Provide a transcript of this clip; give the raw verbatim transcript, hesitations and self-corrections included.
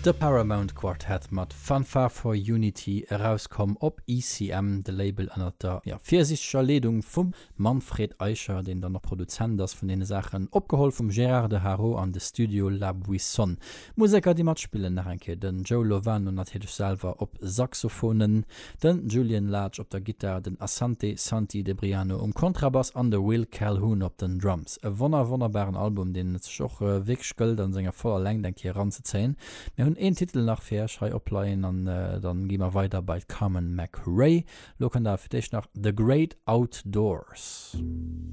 De Paramount Quartet mat Fanfare for Unity, erauskomm op E C M, de Label ënner der, ja, virsiichteger Leedung vum Manfred Eicher, deen dann och Produzent ass vun deene Saachen, opgeholl vum Gérard de Haro an de Studio La Buissonne. Museker, déi matspillen, nach eng Kéier den Joe Lovano natierlech selwer op Saxophonen, den Julian Lage op der Gittar, den Asante Santi Debriano um Kontrabass an de Will Calhoun op den Drums. E wonner wonnerbaren Album, deen et sech och wierklech gëllt an senger voller Längt eng Kéier eranzezéien. Mir hunn een Titel nach fir iech hei opleien an dann gi mer weider bei Carmen McRae. Lo kënnt awer fir d'éischt nach The Great Outdoors.